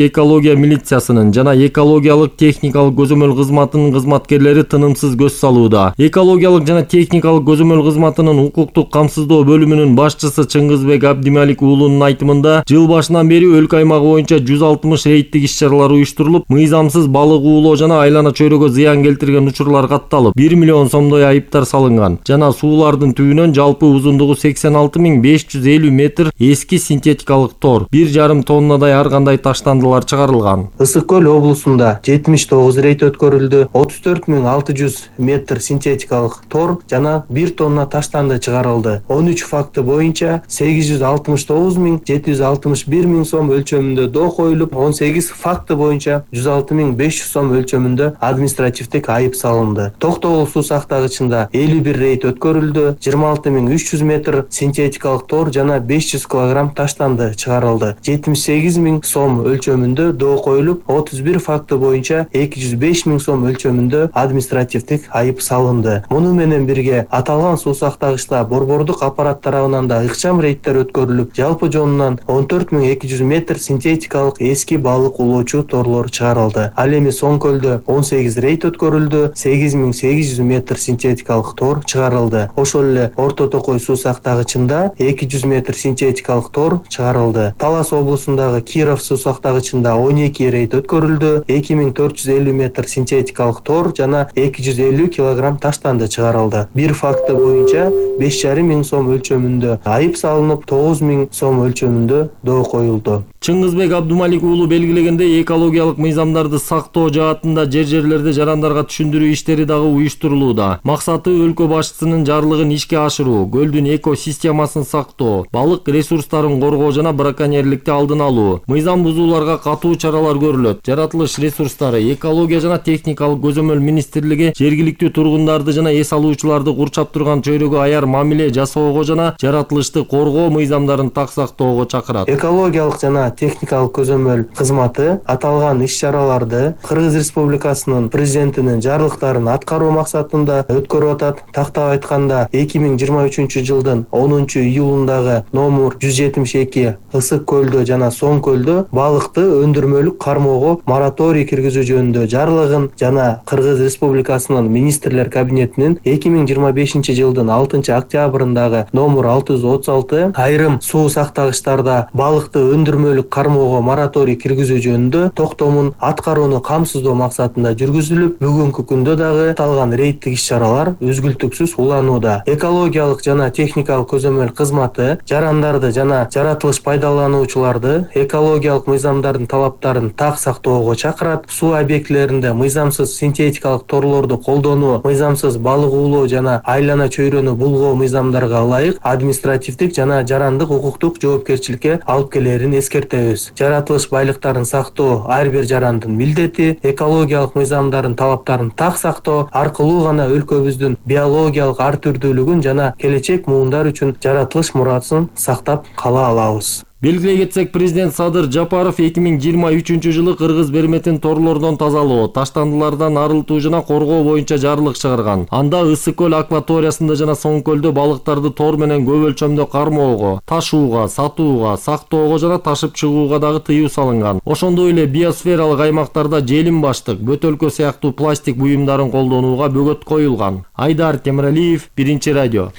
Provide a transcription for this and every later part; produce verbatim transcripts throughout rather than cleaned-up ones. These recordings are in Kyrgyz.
Экология милициясынын жана экологиялык техникалык көзөмөл кызматынын кызматкерлери тынымсыз көз салууда. Экологиялык жана техникалык көзөмөл кызматынын укуктук камсыздоо бөлүмүнүн башчысы Чыңгызбек Абдималик уулунун айтымында, жыл башынан бери өлкө аймагы боюнча жүз алтымыш рейдтик иш-чаралар уюштурулуп, мыйзамсыз балык уулоо жана айлана чөйрөгө зыян келтирген учурлар катталып, бир миллион сомдой айыптар салынган. Жана суулардын түбүнөн жалпы узундугу сексен алты миң беш жүз элүү метр эски синтетикалык тор, бир жарым тоннадай ар кандай таштандылар чыгарылган. Ысык көл облусунда жетимиш тогуз рейд өткөрүлдү. отуз төрт миң алты жүз метр синтетикалык тор жана бир тонна таштанды чыгарылды. он үч факты боюнча сегиз жүз алтымыш тогуз миң жети жүз алтымыш бир миң сом өлчөмүндө доо коюлуп, он сегиз факты боюнча жүз алты миң беш жүз сом өлчөмүндө административдик айып салынды. Токтогул суу сактагычында элүү бир рейд өткөрүлдү. жыйырма алты миң үч жүз метр синтетикалык тор жана беш жүз килограмм таштанды чыгарылды. жетимиш сегиз миң сом өлчөмүндө доо коюлуп, отуз бир факты боюнча эки жүз беш миң сом өлчөмүндө административдик айып салынды. Муну менен бирге аталган суу сактагычта борбордук аппарат тарабынан да ыкчам рейдтер өткөрүлүп, жалпы жонунан он төрт миң эки жүз метр синтетикалык эски балык улоочу торлор чыгарылды. Ал эми Соң көлдө он сегиз рейд өткөрүлдү, сегиз миң сегиз жүз метр синтетикалык тор чыгарылды. Ошол эле Орто Токой суу сактагычында эки жүз метр синтетикалык тор чыгарылды. Талас облусундагы Киров суу сактагычында он эки рейд өткөрүлдү. эки миң төрт жүз элүү метр синтетикалык тор жана эки жүз элүү килограмм таштанды чыгарылды. Бир факты боюнча беш жарым миң сом өлчөмүндө айып салынып, тогуз миң сом өлчөмүндө доо коюлду. Чыңгызбек Абдималик уулу белгилегендей, экологиялык мыйзамдарды сактоо жаатында жер-жерлерде жарандарга түшүндүрүү иштери дагы уюштурулууда. Максаты өлкө башчысынын жарлыгын ишке ашыруу, көлдүн экосистемасын сактоо, балык ресурстарын коргоо жана браконьерликти алдын алуу. Мыйзам бузууларга катуу чаралар көрүлөт. Жаратылыш ресурстары, экология жана техникалык көзөмөл министрлиги жергиликтүү тургундарды жана эс алуучуларды курчап турган чөйрөгө аяр мамиле жасоого жана жаратылышты коргоо мыйзамдарын так сактоого чакырат. Экологиялык жана техникалык көзөмөл кызматы аталган иш-чараларды Кыргыз Республикасынын президентинин жарлыктарын аткаруу максатында өткөрүп атат. Тактап айтканда, эки миң жыйырма үчүнчү жылдын онунчу июлундагы номер жүз жетимиш эки Ысык көлдө жана Соң көлдө балыкты өндүрмөлүк кармоого мораторий киргизүү жөнүндө жарлыгын жана Кыргыз Республикасынын министрлер кабинетинин эки миң жыйырма бешинчи жылдын алтынчы октябрындагы номер алты жүз отуз алты айрым суу сактагычтарда балыкты өндүрмөлүк кармоого мораторий киргизүү жөнүндө токтомун аткарууну камсыздоо максатында жүргүзүлүп, бүгүнкү күндө дагы аталган рейдтик иш-чаралар үзгүлтүксүз уланууда. Экологиялык жана техникалык көзөмөл кызматы жарандарды жана жаратылыш пайдалануучуларды экологиялык мыйзамдардын талаптарын так сактоого чакырат. Суу объектилеринде мыйзамсыз синтетикалык торлорду колдонуу, мыйзамсыз балык уулоо жана айлана чөйрөнү булгоо мыйзамдарга ылайык административдик жана жарандык укуктук жоопкерчиликке алып келерин эскертебиз. Жаратылыш байлыктарын сактоо ар бир жарандын милдети. Экологиялык мыйзамдардын талаптарын так сактоо аркылуу гана өлкөбүздүн биологиялык ар түрдүүлүгүн жана келечек муундар үчүн жаратылыш мурасын сактап кала алабыз. Белгилей кетсек, президент Садыр Жапаров эки миң жыйырма үчүнчү жылы Кыргыз берметин торлордон тазалоо, таштандылардан арылтуу жана коргоо боюнча жарлык чыгарган. Анда Ысык көл акваториясында жана Соң көлдө балыктарды тор менен көп өлчөмдө кармоого, ташууга, сатууга, сактоого жана ташып чыгууга дагы тыюу салынган. Ошондой эле биосфералык аймактарда желим баштык, бөтөлкө сыяктуу пластик буюмдарын колдонууга бөгөт коюлган. Айдар Темиралиев, Биринчи радио.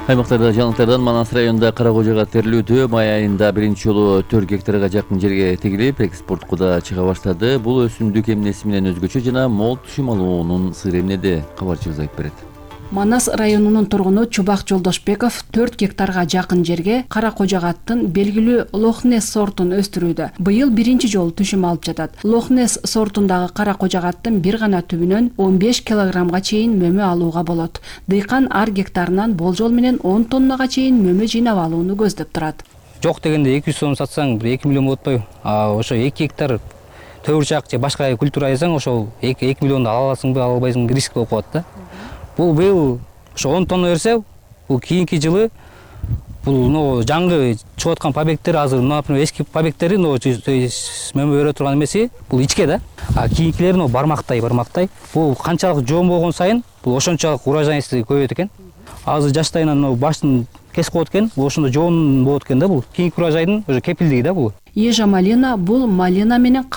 Аймактарда жаңылыктардан Манас районунда Кара Кожого терилүүдө май айында биринчи жолу төрт гектарга жакын жерге тегилип, экспортко да чыга баштады. Бул өсүмдүк эмнеси менен өзгөчө жана мол түшүм алуунун сыры эмнеде? Кабарчыбыз айтып берет. Манас районунун тургуну Чубак Жолдошбеков төрт гектарга жакын жерге Кара Кожогаттын белгилүү Лохнес сортун өстүрүүдө. Быйыл биринчи жолу түшүм алып жатат. Лохнес сортундагы Кара Кожогаттын бир гана түбүнөн он беш килограммга чейин мөмө алууга болот. Дыйкан ар гектарынан болжол менен он тоннага чейин мөмө жыйнап алууну көздөп турат. Жок дегенде эки жүз сом сатсаң эки миллион болот атпайбы? А ошо эки гектар төгүрчак же башка культура айсаң ошол эки миллионду ала аласыңбы, ала албайсыңбы, риск болуп калат да. Бул быйыл ошо он тонна берсе, бул кийинки жылы бул но жаңы чыгып аткан побегттер азыр, например, эски побегттери но мөмө бере турган эмеси, бул ичке да. А кийинкилери но бармактай, бармактай. Бул канчалык жоон болгон сайын, бул ошончолук урожайности көбөйөт экен. Азыр жаштайынан баштын кесип коет экен, бул ошондо жоон болот экен да бул. Кийинки урожайдын уже кепилдиги да бул. ежа малина бул малина менен